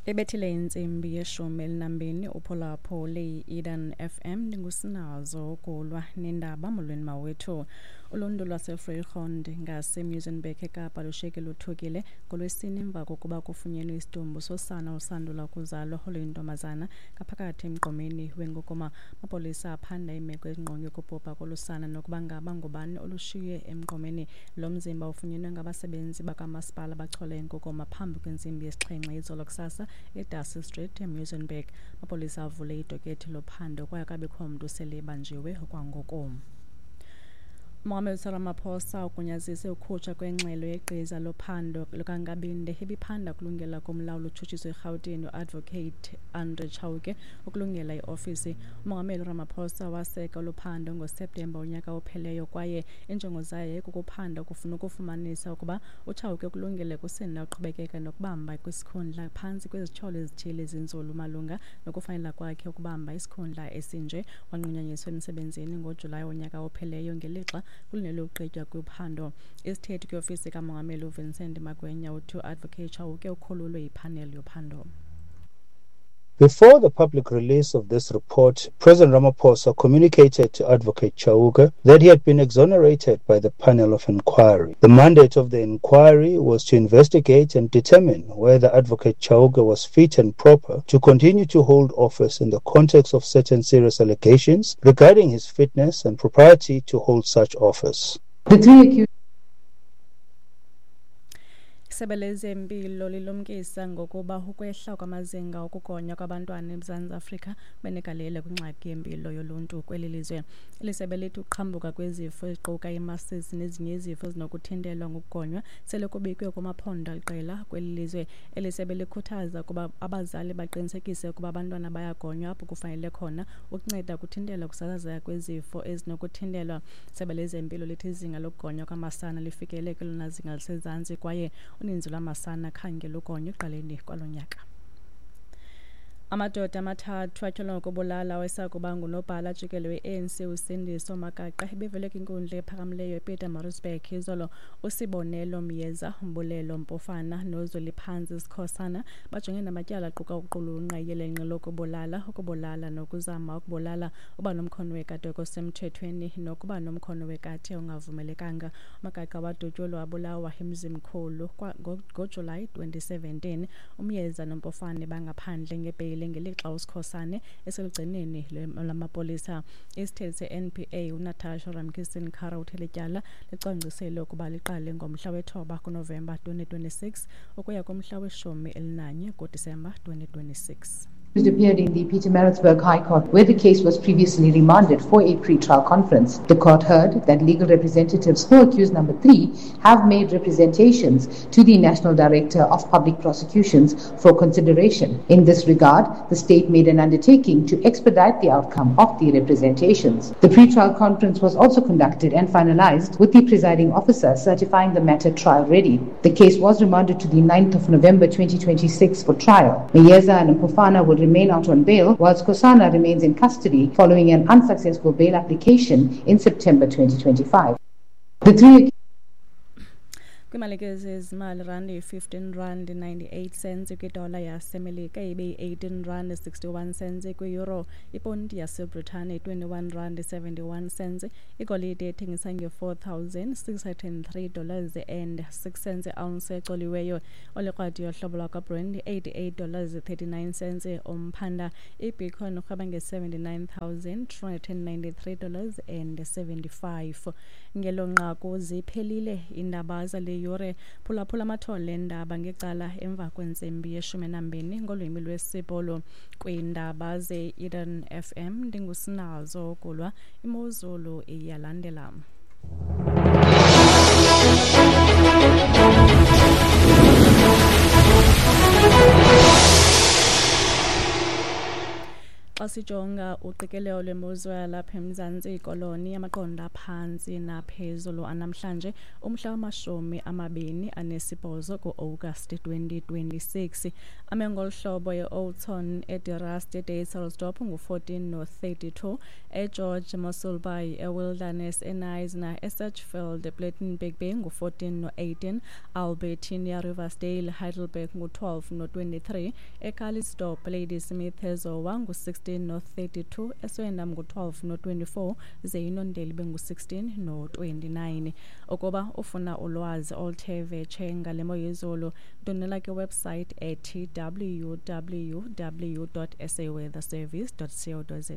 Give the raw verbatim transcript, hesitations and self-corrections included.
Ebethile intsimbi yeshumi elinambini uphulaphule i-Eden F M ndingusinazo ukulwa nendaba. Molweni mawethu. Uluntu lwaseVrygrond ngaseMuizenberg eKapa lushiyeke luthukile ngoLwesine emva kokuba kufunyenwe isidumbu sosana olusandula ukuzalwa oluyintombazana ngaphakathi emgqomeni wenkukuma. Amapolisa aphanda imeko ezingqonge ukubhubha kolusana nokuba ngaba ngubani olushiye emgqomeni. Lo mzimba ufunyenwe ngabasebenzi bakamasipala bachola inkukuma phambi kwentsimbi yesixhenxe izolo kusasa eDarcy Street eMuizenberg. Amapolisa avule idokethi lophando kwaye akabikho mntu sele ebanjiwe okwangoku. Umongameli Cyril Ramaphosa ugunyazise ukukhutshwa kwengxelo yegqiza lophando lukaNkabinde ebiphanda ukulungela komlawuli utshutshiso eRhawutini uAdvocate Andre Chauke ukulungela iofisi. Umongameli Ramaphosa waseka olu phando ngoSeptemba unyaka opheleyo kwaye injongo zayo yayikukuphanda ukufuna ukufumanisa ukuba uChauke ukulungele kusini na uqhubekeka nokubamba kwisikhundla phantsi kwezityholo ezithile ezinzulu malunga nokufanela kwakhe ukubamba isikhundla esinje. Wanqunyanyiswa emsebenzini ngoJulayi wonyaka opheleyo ngelixa kulindelwe ukugqitywa kophando. Isithethi kwiofisi kamongameli uVincent Magwenya uthi uAdvocate Chauke ukhululwe yiphaneli yophando. Before the public release of this report, President Ramaphosa communicated to Advocate Chauke that he had been exonerated by the panel of inquiry. The mandate of the inquiry was to investigate and determine whether Advocate Chauke was fit and proper to continue to hold office in the context of certain serious allegations regarding his fitness and propriety to hold such office. The three accused Isebe lezempilo lilumkisa ngokuba ukwehla kwamazinga okugonywa kwabantwana eMzantsi Afrika benegalelo kwingxaki yempilo yoluntu kweli lizwe. Eli sebe lithi ukuqhambuka kwezifo eziquka imasisi nezinye izifo ezinokuthintelwa ngokugonywa sele kubikwe kumaphondo aliqela kweli lizwe. Eli sebe likhuthaza ukuba abazali baqinisekise ukuba abantwana bayagonywa apho kufanele khona ukunceda kuthintela ukusasazeka kwezifo ezinokuthintelwa. Isebe lezempilo lithi izinga lokugonywa kwamasana lifikele kwelona zinga lisezantsi kwaye uninzi lwamasana khange lugonywe ekuqaleni kwalo nyaka. Amadoda amathathu atyholwa ngokubulala owayesakuba ngunobhala jikelele we-A N C uSindiso Magaqa ebevele kwinkundla ephakamileyo ePietermaritzburg izolo. USibonelo Myeza, Mbulelo Mpofana noZweliphantsi Sikhosana bajongene namatyala aquka ukuqulunqa iyelenqe lokubulala, ukubulala nokuzama ukubulala, uba nomkhono wekati okusemthethweni nokuba nomkhono wekati ongavumelekanga. Magaqa wadutyulwa wabulawa emzimkhulu ngoJulayi twenty seventeen. UMyeza noMpofane bangaphandle ngebheyile ngelixa uSikhosane eselugcineni lwamapolisa. Isithethi se-N P A uNatasha Ramkisson-Kara uthe lityala licwangciselwe ukuba liqale ngomhla wethoba kuNovemba twenty twenty-six ukuya kumhla weshumi elinanye kuDisemba twenty twenty-six. Appeared in the Pietermaritzburg High Court, where the case was previously remanded for a pre-trial conference. The court heard that legal representatives for accused number three have made representations to the National Director of Public Prosecutions for consideration. In this regard, the state made an undertaking to expedite the outcome of the representations. The pre-trial conference was also conducted and finalized with the presiding officer certifying the matter trial ready. The case was remanded to the ninth of November twenty twenty-six for trial. Myeza and Mpofana will remain out on bail, while Sikhosana remains in custody following an unsuccessful bail application in September twenty twenty-five. The three Kwimalike zezimali, rand yi-fifteen rand ninety-eight cents kwidola yaseMelika, ibe yi-eighteen rand sixty-one cents kwi-euro, iponti yaseBritane twenty-one rand seventy-one cents, igolide ethengisa nge-four thousand six hundred and three dollars and six cents ounce ecoliweyo, olikrwadi yohlobo lwakwaBrent eighty-eight dollars thirty-nine cents umphanda, iBitcoin urhweba nge-seventy-nine thousand two hundred and ninety-three dollars and seventy-five. Ngelo nqaku ziphelile iindaba zale yure. Phulaphula amathole endaba ngecala emva kwentsimbi yeshumi nambini ngolwimi lwesiBhulu. Kwiindaba ze-Eden F M ndingusinazo Kulwa. Imozulu iyalandela. Xa Xa sijonga uqikelelo lwemozulu yalapha eMzantsi Koloni, amaqondo aphantsi naphezulu anamhlanje umhla wamashumi amabini anesibhozo ku-August twenty twenty-six ame ngolu hlobo: e-Oudtshoorn, eDe Rust, eDysselsdorp ngu-fourteen no-thirty-two, eGeorge, Mossel Bay, eWilderness, eKnysna, eSedgefield, ePlettenberg Bay ngu-fourteen no-eighteen, Albertinia, Riversdale, Heidelberg ngu-twelve no-twenty-three, eCalitzdorp, Ladysmith, eZowa ngu-sixteen no-thirty-two, eSwellendam ngu-twelve no-twenty-four, ze iNondeli bengu-sixteen no-twenty-nine. Ukuba ufuna ulwazi oluthe vetshe ngale mo yezulu, ndwendwela kwiwebsite ethi W W W dot saweatherservice dot co dot za.